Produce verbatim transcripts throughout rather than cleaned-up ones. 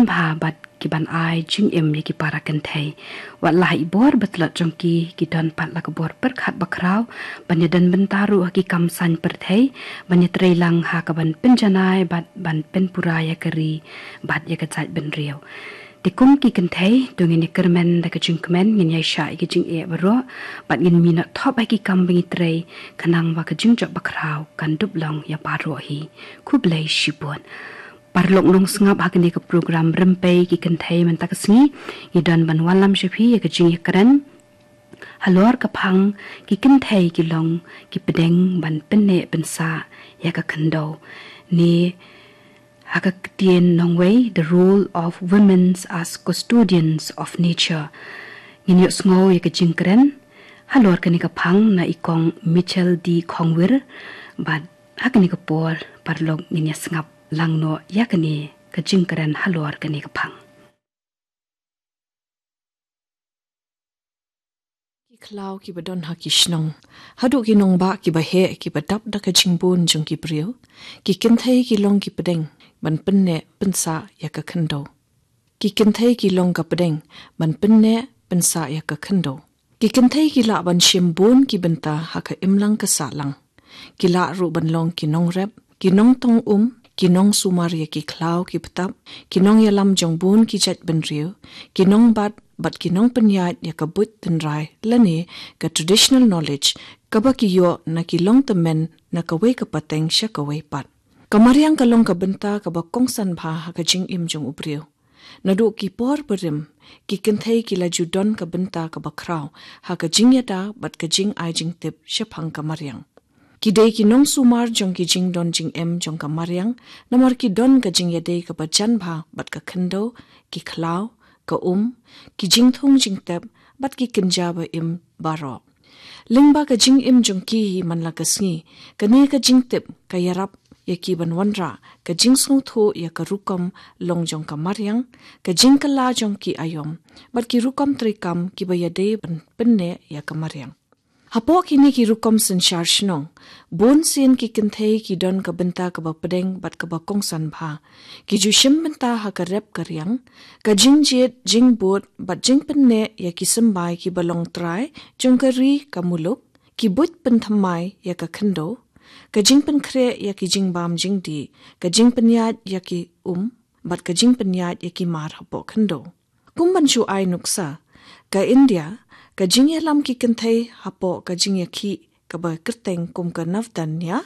bha bad ki ban ai jingim ïa ki para kynthei. Wat la ha i bor ba tlot jong ki, ki don pat la ka bor pyrkhat ba khraw ban ïadon bynta ruh ha ki kam saiñ pyrthei, ban ïatreilang ha ka ban pynjanai bad ban pynpura ïa ka ri bad ïa ka jaitbynriew. Te kum ki kynthei, to ngin ïa kyrmen da ka jingkmen, ngin ïa shah ïa ka jingeh baroh bad ngin minot thop ha ki kam ba ngi trei, khnang ba ka jingjop ba khraw kan dup long ïa baroh hi. Khublei shibun. Paralok nongsngap, ha kane ka program Rympei ki Kynthei mynta ka sngi, ngi don ban wallam sha phi ïa ka jingïakren halor ka phang Ki Kynthei ki long ki pdeng ban pynneh pynsah ïa ka khyndew, ne ha ka ktien nongwei, The Role of Women as Custodians of Nature. Ngin ïohsngew ïa ka jingkren halor kane ka phang na i Kong Mitchell D Khongwir, bad ha kane ka por, paralok, ngin ïa sngap lang noh ïa kane ka jingkren halor kane ka phang. Ki khlaw ki ba don ha ki shnong, haduh ki nongbah ki ba heh, ki ba dap da ka jingbun jong ki briew, ki kynthei ki long ki pdeng ban pynneh pynsah ïa ka khyndew. Ki kynthei ki long ka pdeng ban pynneh pynsah ïa ka khyndew. Ki kynthei ki lah ban shim bun ki bynta ha ka imlang ka sahlang. Ki lah ruh ban long ki nongrep, ki nongtong um, ki nongsumar ïa ki khlaw ki btap, ki nongïalam jong bun ki jaitbynriew, ki nongbat bad ki nongpynïaid ïa ka buit tynrai lane ka traditional knowledge, kaba ki ïoh na ki longtymmen na kawei ka pateng sha kawei pat. Ka mariang ka long ka bynta kaba kongsan bha ha ka jingim jong u briew. Naduh ki por barim, ki kynthei ki la ju don ka bynta kaba khraw ha ka jingïada bad ka jingai jingtip shaphang ka mariang. Ki dei ki nongsumar jong ki jingdon jingem jong ka mariang, namar ki don ka jingïadei kaba jan bha bad ka khyndew, ki khlaw, ka um, ki jingthung jingtep bad ki kynja ba im baroh. Lyngba ka jingim jong ki hi man la ka sngi, kane ka jingtip ka ïarap ïa ki ban wanrah ka jingsngewthuh ïa ka rukom long jong ka mariang, ka jingkylla jong ki aïom bad ki rukom treikam ki ba ïadei ban pynneh ïa ka mariang. Hapoh kine ki rukom synshar shnong, bun sien ki kynthei ki don ka bynta kaba pdeng bad kaba kongsan bha. Ki ju shim bynta ha ka rep ka riang, ka jingjied jingbud bad jingpynneh ïa ki symbai ki ba long trai jong ka ri ka muluk, ki buit pynthymmai ïa ka khyndew, ka jingpynkhreh ïa ki jingbam jingdih, ka jingpynïaid ïa ki um bad ka jingpynïaid ïa ki mar hapoh khyndew. Kum ban shu ai nuksa, ka India, ka jingïalam ki kynthei hapoh ka jingïakhih kaba kyrteng kum ka Navdanya,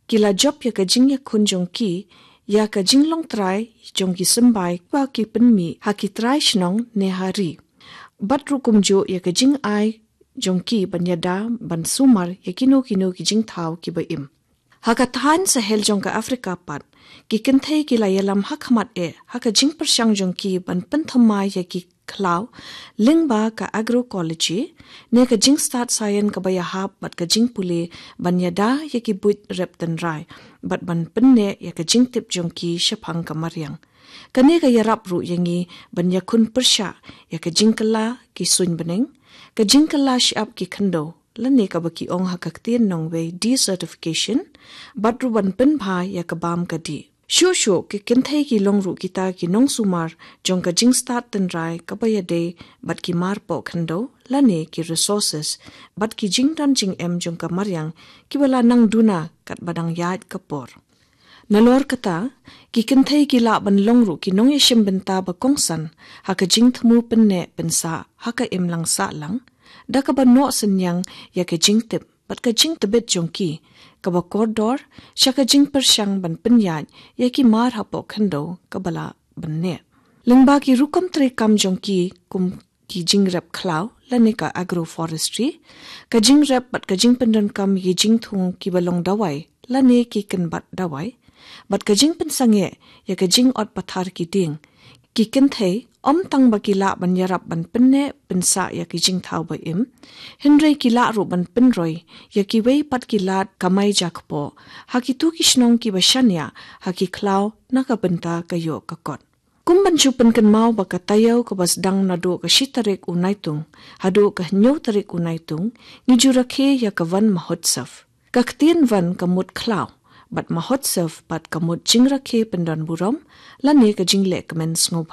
ki la jop ïa ka jingïakhun jong ki ïa ka jinglong trai jong ki symbai ba ki pynmih ha ki trai shnong ne ha ri. Bad ruh kumjuh ïa ka jingai jong ki ban ïada ban sumar ïa kino kino ki jingthaw ki ba im. Ha ka thaiñ sahel jong ka Africa pat, ki kynthei ki la ïalam ha khmat eh ha ka jingpyrshang jong ki ban pynthymmai ïa ki khlaw lyngba ka agroecology, ne ka jingstad science kaba ïahap bad ka jingpule ban ïada ïa ki buit rep tynrai bad ban pynneh ïa ka jingtip jong ki shaphang ka mariang. Kane ka ïarap ruh ïa ngi ban ïakhun pyrshah ïa ka jingkylla ki suiñ bneng, ka jingkylla shyiap ki khyndew, lane kaba ki ong ha ka ktien nongwei desertification, bad ruh ban pynbha ïa ka bam ka dih. Shuh shuh ki kynthei ki long ruh kita ki nongsumar jong ka jingstad tynrai kaba ïadei bad ki mar poh khyndew lane ki resources bad ki jingdon jingem jong ka mariang ki ba la nang duna katba dang ïaid ka por. Nalor kata, ki kynthei ki lah ban long ruh ki nongïashim bynta ba kongsan ha ka jingthmu pynneh pynsah ha ka imlang sahlang, da kaba noh synñiang ïa ka jingtip bad ka jingtbit jong ki kaba kordor sha ka jingpyrshang ban pynïaid ïa ki mar hapoh khyndew kaba lah ban neh. Lyngba ki rukom treikam jong ki kum ki jingrep khlaw lane ka agroforestry, ka jingrep bad ka jingpyndonkam ïa ki jingthung ki ba long dawai lane ki kynbat dawai, bad ka jingpynsangeh ïa ka jingot pathar ki dieng, ki kynthei ym tang ba ki lah ban ïarap ban pynneh pynsah ïa ki jingthaw ba im, hynrei ki lah ruh ban pynroi ïa kiwei pat ki lad kamai jakpoh ha kito ki shnong ki ba shaniah ha ki khlaw na ka bynta ka ïoh ka kot. Kum ban shu pynkynmaw ba ka taïew kaba sdang naduh ka shi tarik u Naitung haduh ka hynñiew tarik u Naitung, ngi ju rakhe ïa ka Van Mahotsav. Ka ktien Van ka mut khlaw, bad Mahotsav pat ka mut jingrakhe pyndonburom lane ka jinglehkmen sngewbha.